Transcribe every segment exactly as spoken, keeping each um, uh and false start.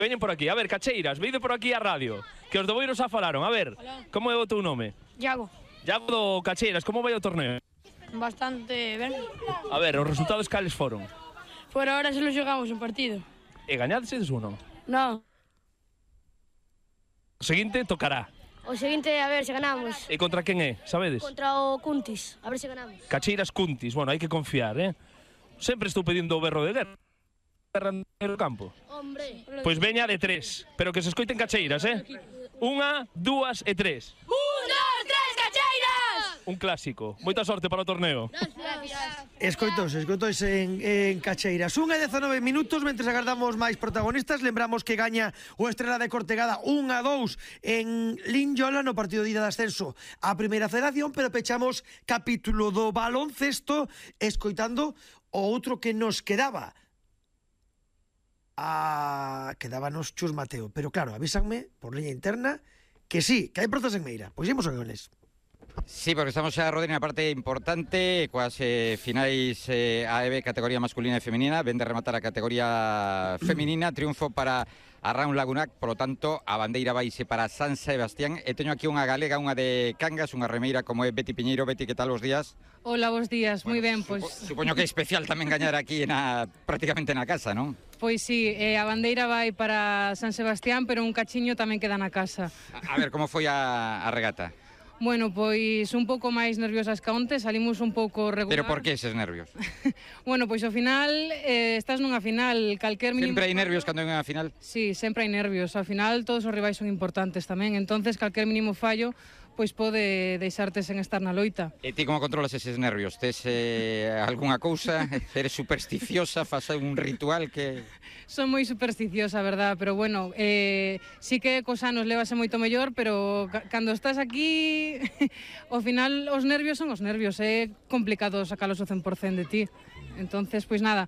Veñen por aquí. A ver, Cacheiras, veide por aquí a radio, que os do Boiro xa falaron. A ver, Hola. como é o teu nome? Iago. Iago do Cacheiras, como vai o torneo? Bastante ben. A ver, os resultados cales foron? Por ahora solo xogamos un partido. E gañadedes ou non? Non. O seguinte tocará. O seguinte, a ver se ganamos. E contra quen é, sabedes? Contra o Cuntis, a ver se ganamos. Cacheiras Cuntis, bueno, hai que confiar, eh? Sempre estou pedindo o berro de guerra. Guerra no campo. Hombre. Pois veña de tres, pero que se escoiten Cacheiras, eh? Unha, dúas e tres. Un, dos, tres, Cacheiras! Un clásico. Moita sorte para o torneo. Gracias. Escoitos, escoitos en, en Cacheiras. Unha e dezanove minutos, mentres agardamos máis protagonistas. Lembramos que gaña o Estrela de Cortegada un a dous en Linyola no partido de ida de ascenso a Primeira Federación, pero pechamos capítulo do baloncesto escoitando o outro que nos quedaba. Ah, quedábanos Chus Mateo, pero claro, avísanme por liña interna que sí, que hai prazas en Meira. Pois imos con eles. Sí, porque estamos xa, Rodri, na parte importante, coas eh, finais eh, A E B categoría masculina e femenina. Ven de rematar a categoría femenina, triunfo para a Raun Lagunac, polo tanto, a bandeira vaise para San Sebastián. E teño aquí unha galega, unha de Cangas, unha remeira como é Beti Piñeiro. Beti, que tal os días? Hola, bons días, Bueno, moi ben, supo, pois... Supoño que é especial tamén gañar aquí na, prácticamente na casa, non? Pois sí, eh, a bandeira vai para San Sebastián, pero un cachiño tamén queda na casa. A, a ver, como foi a, a regata? Bueno, pois un pouco máis nerviosas que onte, salimos un pouco regular. Pero por que eses nervios? Bueno, pois ao final, eh, estás nunha final, calquer mínimo... Sempre hai nervios cando hai unha final? Sí, sempre hai nervios. Ao final todos os rivais son importantes tamén, entonces calquer mínimo fallo pois pode deixarte sen estar na loita. E ti como controlas eses nervios? Tes eh, algunha cousa? Eres supersticiosa? Fas un ritual que... Son moi supersticiosa, verdad, pero bueno, eh, sí que cos anos levase moito mellor, pero ca cando estás aquí, ao final os nervios son os nervios, é complicado sacalos o cen por cen de ti. Entonces, pois nada,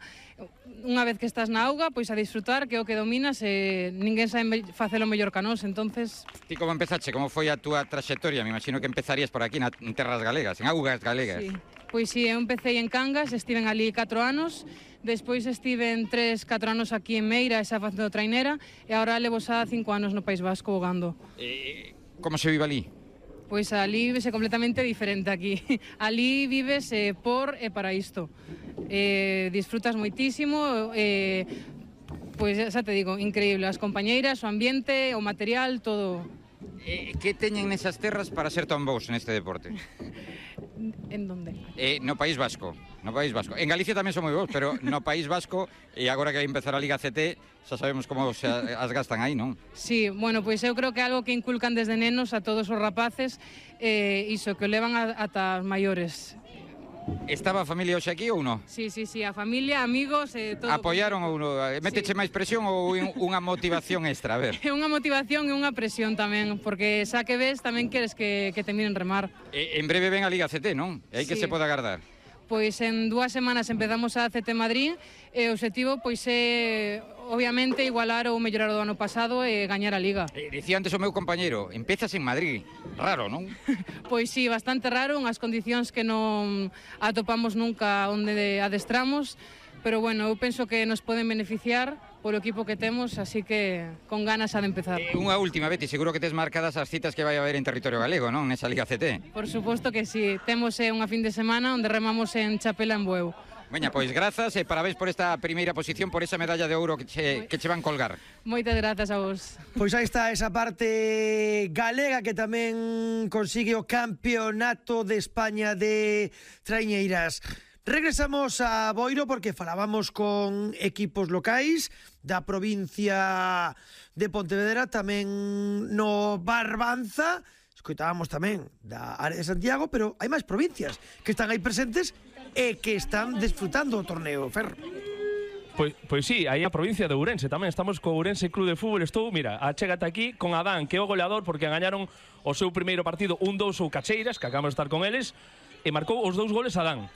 unha vez que estás na auga, pois a disfrutar, que é o que dominas, e ninguén sabe facelo mellor que a nós, entonces... Ti como empezache? Como foi a túa traxectoria? Me imagino que empezarías por aquí, na, en terras galegas, en augas galegas. Sí. Pois sí, eu empecé en Cangas, estiven ali catro anos, despois estiven tres, catro anos aquí en Meira, esa facendo trainera, e agora levo xa cinco anos no País Vasco vogando. Eh, como se vive ali? Pois ali vivese completamente diferente aquí. Ali vives eh, por e para isto. Eh, disfrutas moitísimo, eh, pois xa te digo, increíble. As compañeiras, o ambiente, o material, todo. Eh, que teñen nesas terras para ser tan bons neste deporte? En donde? Eh, no País Vasco, no País Vasco. En Galicia tamén son moi bons, pero no País Vasco, e agora que vai empezar a Liga C T, xa sabemos como se as gastan aí, non? Sí, bueno, pois eu creo que é algo que inculcan desde nenos a todos os rapaces, eh, iso, que o levan a, ata os maiores. Estaba a familia hoxe aquí ou non? Sí, sí, sí, a familia, amigos, eh, todo. Apoiaron ou non? Méteche Sí. máis presión ou unha motivación extra? A ver. É unha motivación e unha presión tamén, porque xa que ves tamén queres que, que te miren remar. Eh, en breve ven a Liga C T, non? E aí que Sí. se pode agardar? Pois en dúas semanas empezamos a C T Madrid e o obxectivo pois é obviamente igualar ou mellorar o do ano pasado e gañar a Liga. Eh, dicía antes o meu compañeiro, empezas en Madrid. Raro, non? Pois sí, bastante raro, unhas condicións que non atopamos nunca onde adestramos, pero bueno, eu penso que nos poden beneficiar polo equipo que temos, así que con ganas ha de empezar. Eh, unha última, Beti, seguro que tes marcadas as citas que vai haber en territorio galego, non? Nesa Liga C T. Por suposto que sí, temos eh, unha fin de semana onde remamos en Chapela en Bueu. Veña, pois grazas e parabéns por esta primeira posición, por esa medalla de ouro que che, que che van colgar. Moitas grazas a vos. Pois aí está esa parte galega que tamén consigue o campeonato de España de traiñeiras. Regresamos a Boiro porque falábamos con equipos locais da provincia de Pontevedra, tamén no Barbanza, escoitábamos tamén da área de Santiago, pero hai máis provincias que están aí presentes e que están desfrutando o torneo, Ferro. Pois, pois sí, aí a provincia de Ourense tamén estamos co Ourense Club de Fútbol. Estou, mira, achégate aquí con Adán, que é o goleador porque gañaron o seu primeiro partido un dous ou Cacheiras, que acabamos de estar con eles, e marcou os dous goles Adán.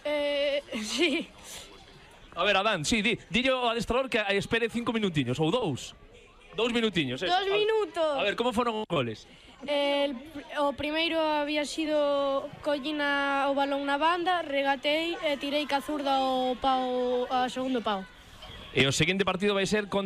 Eh, sí. A ver, Adán, sí, di, dille ao adestrador que espere cinco minutiños ou dous. Dous minutiños, eh. Dos minutos. A ver, como foron os goles? El, o primeiro había sido collina o balón na banda, regatei e tirei ca zurda o pau, a segundo pau. E o seguinte partido vai ser contra